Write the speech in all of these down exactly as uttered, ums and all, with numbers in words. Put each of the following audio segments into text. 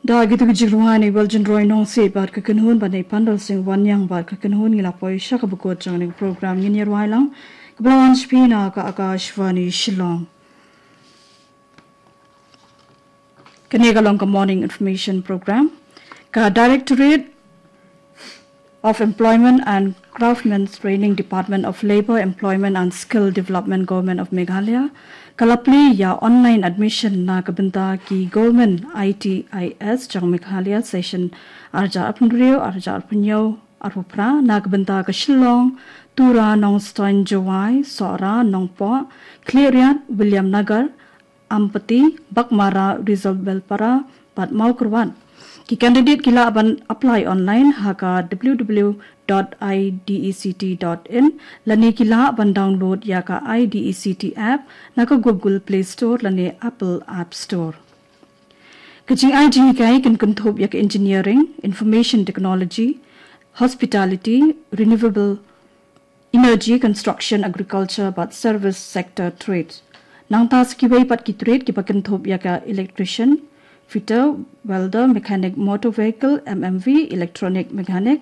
Da kito ki jingrwai na i Weljin Roy Nongsiej bad ka kynhun bad na i Pandal Singh Wanniang bad ka kynhun ngi la poi sha kaba kut jong kane ka program. Ngin ïa rwai lang kaba la wan sha phi na ka Akashvani Shillong. Kane ka long ka Morning Information Program. Ka Directorate of Employment and Craftsmen Training, Department of Labour, Employment and Skill Development, Government of Meghalaya, ka la plie ïa online admission na ka bynta ki Government I T I S jong Meghalaya, session ar hajar arphew hynriew, ar hajar arphew hynñiew, arphew phra, na ka bynta ka Shillong, Tura, Nongstoiñ, Jowai, Sohra, Nongpoh, Khliehriat, Williamnagar, Ampati, Baghmara, Resubelpara bad Mawkyrwat. Ki candidate ki lah ban apply online ha ka W W W dot I D E C T dot in, lane ki lah ban download ïa ka I D E C T app na ka Google Play Store lane Apple App Store. Ka jingai jinghikai kan kynthup ïa ka engineering, information technology, hospitality, renewable energy, construction, agriculture bad service sector trade. Nangta sa kiwei pat ki trade kiba kynthup ïa ka electrician, fitter, welder, mechanic motor vehicle, M M V, electronic mechanic,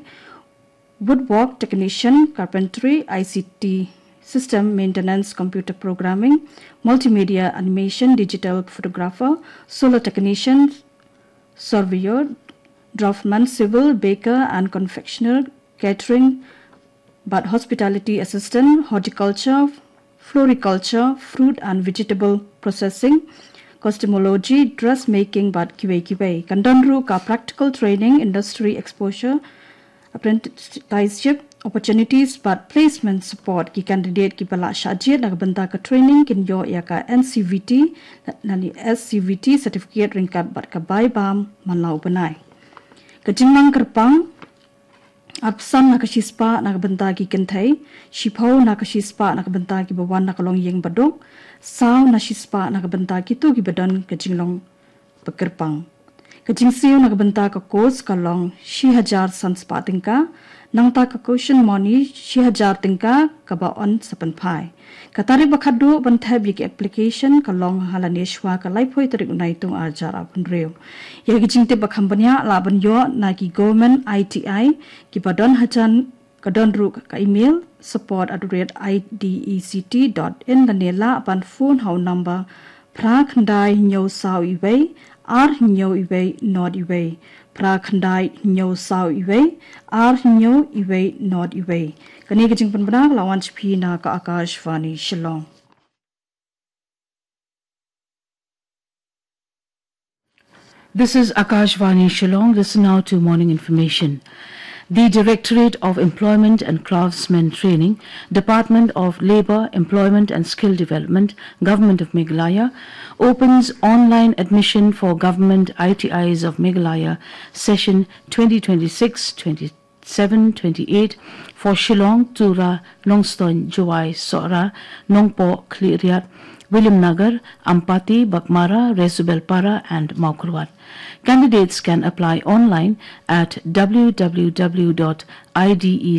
woodwork technician, carpentry, I C T system maintenance, computer programming, multimedia animation, digital photographer, solar technician, surveyor, draftsman, civil, baker and confectioner, catering bad hospitality assistant, horticulture, floriculture, fruit and vegetable processing, cosmetology, dressmaking bad kiwei kiwei. Kan don ruh ka practical training, industry exposure, apprenticeship opportunities bad placement support. Ki candidate kiba la shah jied na ka bynta ka training kin ïoh ïa ka N C V T lane S C V T certificate ryngkat bad ka bai bam man la u bnai. Ka jinglong kyrpang: arphew san na ka shispah na ka bynta ki kynthei, shiphew na ka shispah na ka bynta kiba wan na ka longïing baduk, saw na shispah na ka bynta kito kiba don ka jinglong bakyrpang. Ka jingsiew na ka bynta ka course ka long shi hajar san spah tyngka, nangta ka caution money shi hajar tyngka kaba yn sa pynphai. Ka tarik ba khatduh ban thep ïa ki application ka long ha lane shuwa ka laiphew tarik u Naitung ar hajar arphew hynriew. Ïa ki jingtip ba kham bniah lah ban ïoh na ki Government I T I kiba don hajan, ka don ruh ka email support at the rate I D E C T dot in lane lah ban phone ha u number phra khyndai hynñiew saw iwei, ar hynñiew iwei nod iwei, phra khyndai hynñiew saw iwei, ar hynñiew iwei nod iwei. Kane ka jingpynbna ka la wan sha phi na ka Akashvani Shillong. This is Akashvani Shillong. Listen now to morning information. The Directorate of Employment and Craftsmen Training, Department of Labour, Employment and Skill Development, Government of Meghalaya, opens online admission for Government I T Is of Meghalaya session twenty twenty-six twenty-seven twenty-eight for Shillong, Tura, Nongstoiñ, Jowai, Sohra, Nongpoh, Khliehriat, Williamnagar, Ampati, Baghmara, Resubelpara and Mawkyrwat. Candidates can apply online at w w w dot I D E